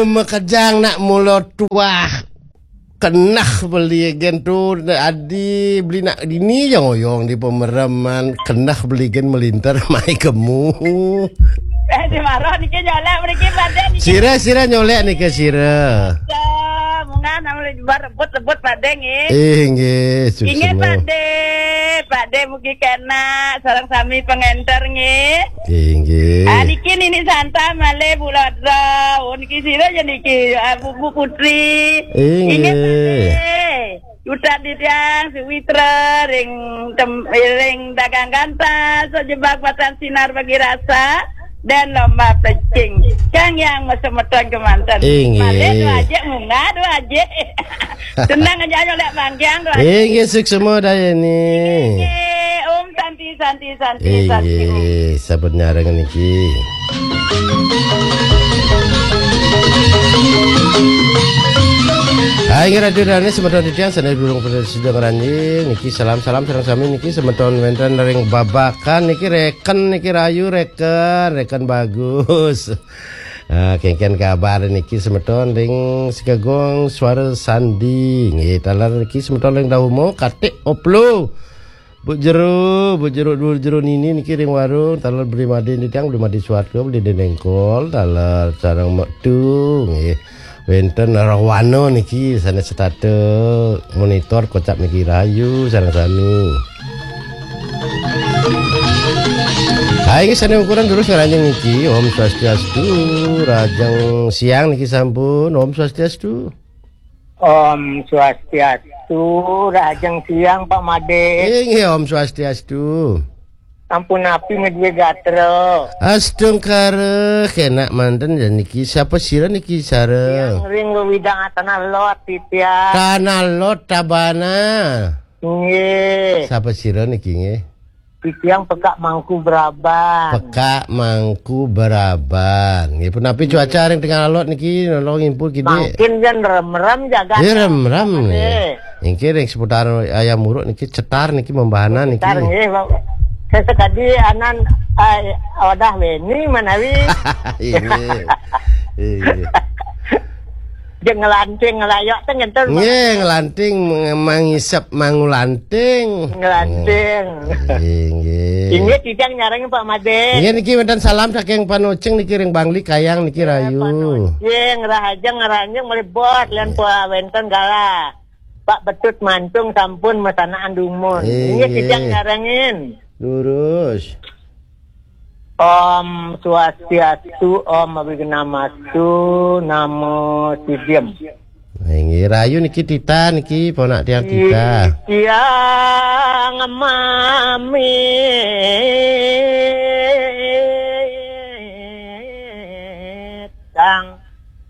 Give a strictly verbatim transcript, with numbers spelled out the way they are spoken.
Makejang nak mula tuah. Keneh beli gen tu adi beli nak dini yang oyong di pemereman. Keneh beli gen melinter mai kemu. Eh, di marah niki nyolek mriki Pak Dek niki. Sira, sira nyolek niki sira. Ya, mungkin nama lebar rebut-rebut Pak Dek nggih. Eh, nggih, Inggih suksma. Pak Dek, Pak Dek mugi kena sareng sami pengenter nggih. Inggih. Ah, niki Nini Santa malih Bu Lodra. Oh, niki sira ya niki, ah, Bu, Bu Putri. Inggih. Inggih, Pak Dek. Utat titiang Suwitra ring tem-, ring dagang gantas, jebak batan sinar bagi rasa, dan lomba pecing. Kang yang semeton kemanten. Inggih. Malih dua aja munggah, dua aja. Tenang aja, ayo lek bangkiang, dua aja. Inggih, suksma dayani. Inggih, Om Santi, Santi, Santi, Santi. Inggih, sampun nyareng niki. Hai, inggih Radio Dane, semeton titiang, sanes durung pada sida ngranjing. Niki salam-salam sareng sami niki semeton wenten ring Babakan niki reken niki rayu reken, reken bagus. Ah, kengken kabar niki semeton ring Sikegong Suara Sandi. Nggih, taler niki semeton ring Dahumo, Katik Oplo. Bu Jero, Bu Jero, Bu Jero Nini niki ring warung, taler Bli Made nitang, Bli Made Suwarga, Bli Denengkol, taler sareng Mektu, nggih. Wenten Rohwana niki sanes setata monitor kocap niki rayu sareng sami. Hai, nggih, sanes ukuran terus ngranjing niki. Om Swastiastu, rajeng siang niki sampun. Om Swastiastu. Om Swastiastu, rahajeng siang, Pak Made. Inggih, Om Swastiastu. Sampun napi ngeduwe gatra? Astungkara, kenak manten ya niki. Siapa sira niki, sareng? Yang ring wewidang Tanah Lot, titiang. Tanah Lot, Tabana. Nggih. Siapa sira niki, nggih? Titiang Pekak Mangku Beraban. Pekak Mangku Beraban. Nggih, punapi cuaca ring tengah alot niki, nolong impun kidi? Mangkin jan rem-rem jagat. Nggih, rem-rem, nggih. Nggih. Nggih, ring seputar Ayam Uruk niki cetar niki membahana niki. Cetar, nggih, Pak. Sesekadi anan, eh, wadah weni manawi. Nggih. Nggih. Jeng ngelanting ngelayok teh ngenten, Pak. Nggih, ngelanting, meng-, mangisep mangulanting. Ngelanting. Nggih, nggih. Inggih, titiang nyarengin Pak Made. Nggih, niki wenten salam saking Panocing niki ring Bangli Kayang niki. Nggih, rayu. Panocing, rahajeng, rahajeng malih bot, lian, nggih, pura wenten galah. Pak Betut Mantung sampun masanaan dumun. Nggih, nggih, nggih, titiang nyarengin. Lurus. Om Swastiastu, Om Awighnamastu, Namo Sidham. Inggih, rayu niki Tita niki, ponak tiang Tita. Titiang mami.